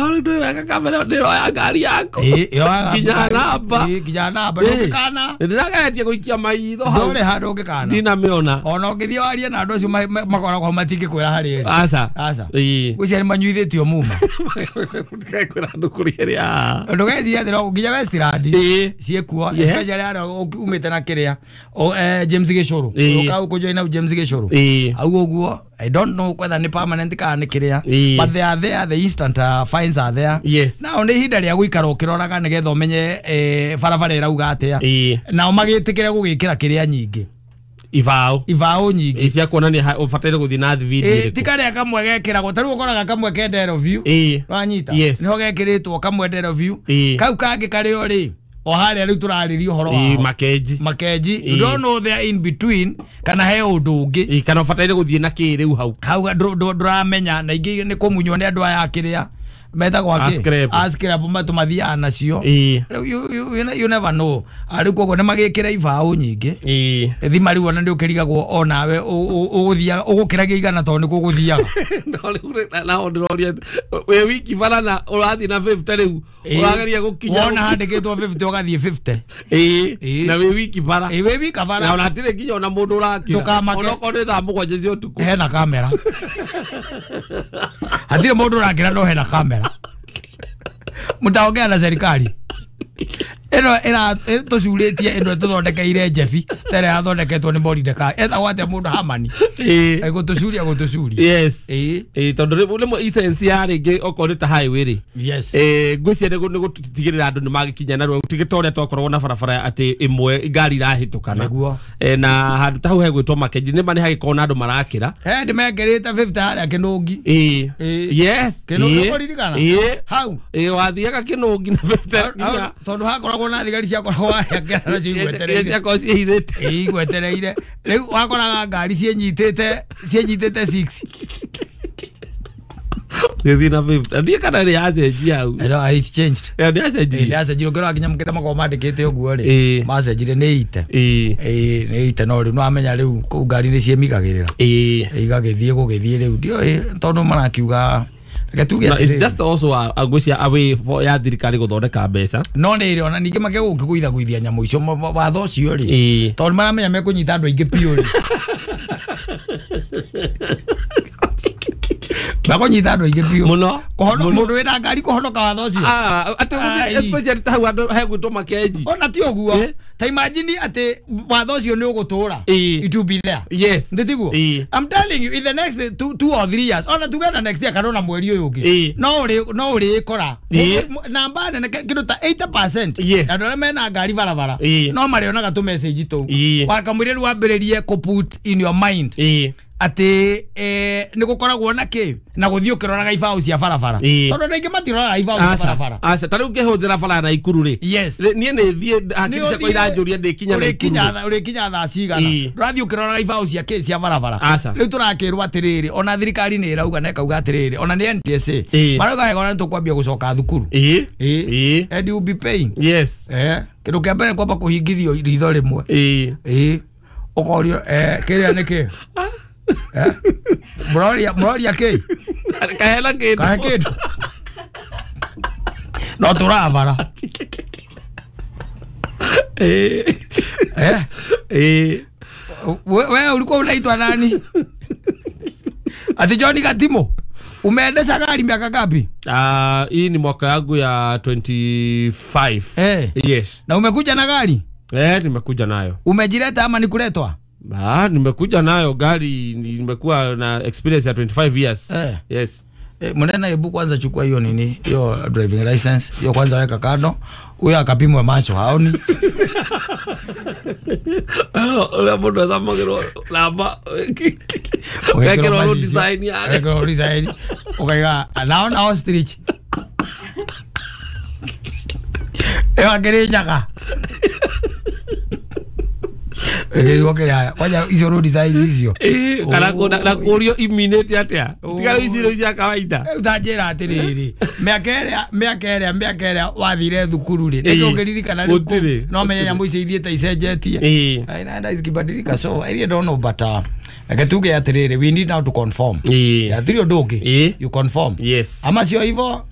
No rĩu ndũĩ wega kamera nĩroya ngari yaku. Ĩĩ, yoyaga. Nginya namba. Ĩĩ, nginya namba ndũngĩkana. Ndĩrageretie gũikia maitho hau. Ndũrĩ handũ ũngĩkana. Ndinamĩona. Ona ũngĩthiĩ warie na andũ acio makoragwo matingĩkwĩra harĩ ĩrĩ. Aca. Aca. Ĩĩ. Gwĩciria nĩ manyuithĩtio muma. Kwĩra andũ kũrĩa ĩrĩa. Ndũgeciria atĩ no nginya Westland ciĩkuo, especially harĩa umĩte na kĩrĩa James Gĩcũrũ. Ũka ũkũjoina James Gĩcũrũ au ũguo. I don't know whether nĩ permanent kana nĩ kĩrĩa, but they are there, the instant fines are there. Nao nĩ ihinda rĩa gũikara ũkĩroraga nĩgetha ũmenye barabara ĩrauga atĩa. Nao magĩtĩkĩre gũgĩkĩra kĩrĩa nyingĩ. Ibaũ. Ibaũ nyingĩ. Ĩ, cia kuonania ũbataire gũthiĩ na thibindi ĩrĩkũ. Ti karĩa kamwe gekĩragwo, ta rĩu ũkoraga kamwe kendero view. Wanyita? Nĩho gekĩrĩtwo kamwe ndero view. Kau kangĩ karĩo rĩ o harĩa rĩu tũrarĩria ũhoro wao. Makenji. Makenji. You don't know they in between kana he ũndũ ũngĩ. Kana ũbataire gũthiĩ na kĩ rĩu hau. Hau ndũramenya na ingĩ nĩ kũmunywo nĩ andũ aya kĩrĩa metagwo akĩ? Ascrap. Ascrap matũmathiaga nacio. Rĩu you never know. Rĩu koguo nĩ magĩkĩra ibaũ nyingĩ. Thima rĩu ona nĩ ũkĩrigagwo onawe ũgũthiaga ũgũkĩragia 100 tondũ nĩ gũgũthiaga. No rĩu naho ndĩroria wĩ wiki bara na ũrathiĩ na 50 rĩu ũrageria gũkinya. Wona handĩkĩtwo 50 ũgathiĩ 50. Na wĩ wiki bara. Ĩĩ, wĩ wika Na bara. ona hatirĩ nginya ona mũndũ ũrakĩra. Ndũkamake. Ona okorwo nĩ thaa 7 cia ũtukũ. Hena kamera, hatirĩ mũndũ ũrakĩra, no hena kamera. Mtaongea na serikali ĩno ĩra tũcurĩtie ĩno ĩtũthondekeire njebi ta ĩrĩa yathondeketwo nĩ Moridekai, etagwo atĩa mũndũ Hamani. Gũtũcuria gũtũcuria. Ĩĩ, tondũ rĩmwe essence ya rĩngĩ okorwo nĩ ta highway rĩ, ngwĩciria nĩ gũtigĩrĩra andũ nĩ magĩkinya narua, tigĩ ta ũrĩa twakoragwo na barabara atĩ ĩmwe ngari irahĩtũkana. Na handũ ta hau hegwĩtwo Makenji nĩ ma nĩ hagĩkorwo na andũ marakĩra. He ndĩ mekĩrĩte 50 harĩa Kĩnũngi. Kĩnũngi ũkũririkana? Hau. Ĩĩ, wathiaga Kĩnũngi na 50 nginya. Tondũ hakoragwo na thigari ciakoragwo harĩa kĩara nacio igwetereire. Ciakorwo ciĩhithĩte. Ĩĩ, igwetereire. Rĩu wakoraga ngari ciĩnyitĩte 6. Gĩthiĩ na 50 ndiĩ kana nĩ yacenjia hau. No, it's changed. Ĩyo nĩ yacenjirie. Nĩ yacenjirie. Ũngĩrora nginya mũkĩra makoragwo mandĩkĩte ũguo rĩ, macenjirie nĩ ite. Ĩĩ, nĩ ite, no rĩu nĩwamenya rĩu kũu ngari nĩ ciĩmigagĩrĩra. Igagĩthiĩ gũgĩthiĩ rĩu ndiũĩ tondũ marakiuga reke tuge No, it's atĩrĩrĩ. just also a ngwĩciria a way for ya thirikari gũthondeka mbeca. No nĩ ĩrĩ ona ningĩ makegũkĩgũithagũithia nyamũ icio watho ũcio rĩ, tondũ maramenya mekũnyita andũ aingĩ biũ rĩ, mekũnyita andũ aingĩ biũ. Mũno. Mũndũ wĩna ngari kũhonoka watho ũcio. Ah, atĩ gũthiĩ especially ta hau andũ hegwĩtwo Makenji. Ona ti ũguo. Ta imagine atĩ watho ũcio nĩ ũgũtũra. It will be there. Ndĩtiguo? Ĩĩ. I'm telling you, in the next 2 or 3 years, ona tuge na next year kana ona mweri ũyũ ũngĩ, no ũrĩkora namba nene kĩndũ ta 80% andũ arĩa mena ngari barabara no marĩonaga tũ message tũu. Wakamwĩra rĩu wambĩrĩrie kũ put in your mind atĩ nĩ gũkoragwo na kĩ na gũthiĩ ũkĩroraga ibaũ cia barabara, tondũ andũ aingĩ matiroraga ibaũ cia Aca. barabara. Aca, ta rĩu ngĩhũthĩra bara ya Naikuru rĩ, niĩ nĩ thiĩ hakiri ciakwa iranjũria ndĩkinya Naikuru rĩ. Ũrĩkinya thaa cigana? Ndũrathiĩ ũkĩroraga ibaũ cia kĩ cia barabara. Aca. Rĩu tũrakĩrwo atĩrĩrĩ, ona thirikari nĩ ĩrauga na ĩkauga atĩrĩrĩ, ona nĩ NTSA marauga wega, ona nĩ tũkwambia gũcoka thukuru. And you will be paying. Kĩndũ kĩa mbere kwamba kũhingithio ritho rĩmwe. Ĩĩ, ũkorio kĩrĩa nĩ kĩ? Mũroria mũroria kĩ? Kahena kĩndũ. Kahe kĩndũ no tũrabara. We ulikuwa unaitwa nani? Ati John Gatimo. Umeendesha gari miaka ngapi? Ah, hii ni mwaka yangu ya 25. Yes. Na umekuja na gari? Eh, nimekuja nayo. Umejileta ama ni kuletwa? Ah, nimekuja nayo gari, nimekuwa na experience ya 25 years. Yes. Mnene, hebu kwanza chukua hiyo nini, hiyo driving license, hiyo kwanza weka kando. Huyo akapimwe macho haoni. Ũrĩa mũndũ athomagĩrwo namba ũgekĩrwo road design yake. Wekĩrwo road design. Ukaiga naona ostrich. Ĩyo akĩrĩ nyaga. Ĩrĩrwo kĩrĩa kwanja icio road design icio. Ĩĩ, kana na kũrio iminĩte atĩa, tiga rĩu ici rĩu cia kawaida. Rĩu ta njĩra atĩrĩrĩ, mĩaka ĩrĩa wathire thukuru rĩ, nĩkĩ ũngĩririkana rĩu Gũtirĩ. No menye nyamũ icio ithiĩte icenjetie. Inaenda zikibadilika, so I really don't know, but reke tuge atĩrĩrĩ, we need now to conform. Hatirĩ ũndũ ũngĩ. You conform. Ama sio hivyo.